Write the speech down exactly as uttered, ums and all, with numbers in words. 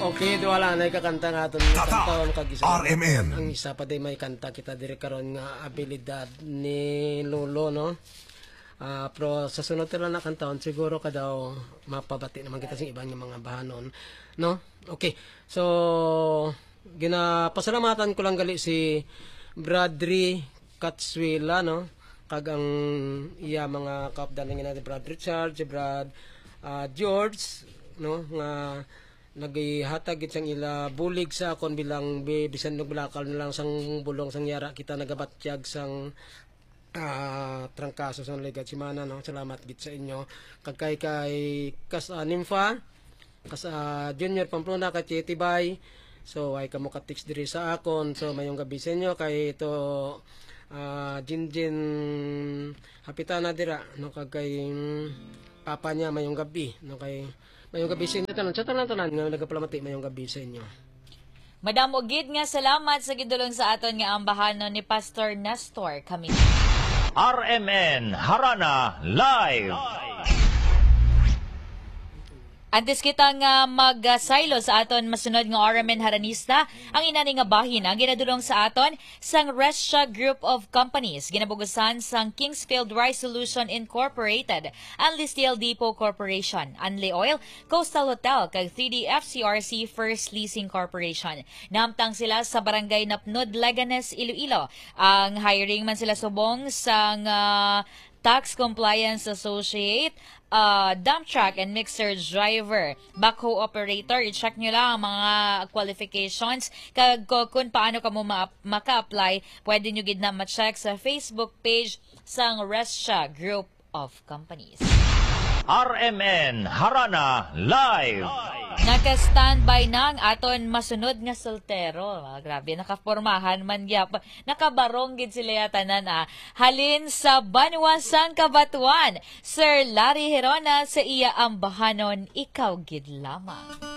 Okay, duha lang na ikakanta nga aton Tatak, kantahon kag isa R M N. Ang isa pa day may kanta kita diri karon nga abilidad ni Lolo, no? Ah, pero sa sunod tira na kantahon, siguro ka daw mapabati naman kita sa iban nga mga bahanon, no? Okay. So, ginapasalamatan ko lang gali si Bradry Katsuela, no? Kag ang iya mga kaupdan nga si Brad Richard, si Brad, ah, George, no? Nga naghatag gid sang ila bulig sa akon bilang bi-, bisan nagbalakal na lang sang bulong sang yara kita nagabatyag sang, ah, trangkaso sang ligad semana, no? Salamat gid sa inyo. Kag kay, kay Kas, ah, Nympha, Kas, ah, Junior Pamplona, kay Tibay. So, ay kamo ka-text diri sa akon. So, mayong gabi sa inyo. Kay ito, ah, Jinjin Hapitana dira, no? Kag kay, mm, papa niya, mayong gabi, no? Kay, mayong gabi sa inyo tanan. Sa tanan-tanan nga nagapalamati, mayong gabi sa inyo. Madamo gid nga salamat sa gidulong sa aton nga ambahanon ni Pastor Nestor Camino. R M N Harana Live. Antes kita nga magsaylo sa aton masunod nga R M N Haranista, ang inani nga bahin ang ginadulong sa aton sang Restia Group of Companies, ginabugusan sang Kingsfield Rice Solution Incorporated, Anli Steel Depot Corporation, Anli Oil, Coastal Hotel, kag three D F C R C First Leasing Corporation. Nahamtang sila sa Barangay Napnod, Leganes, Iloilo. Ang hiring man sila subong sang, ah, tax compliance associate, ah, dump truck and mixer driver, backhoe operator. I-check nyo lang ang mga qualifications kag ko-, kung paano kamo ma-, maka-apply. Pwede nyo gid na ma-check sa Facebook page sang Restia Group of Companies. R M N Harana Live. Naka-standby na ang aton masunod nga soltero. Ah, grabe, nakapormahan man gyap. Nakabarong gid sila ya tanan, ah. Halin sa banwa sang Cabatuan, Sir Larry Herona sa iya ambahanon, Ikaw Gid Lamang.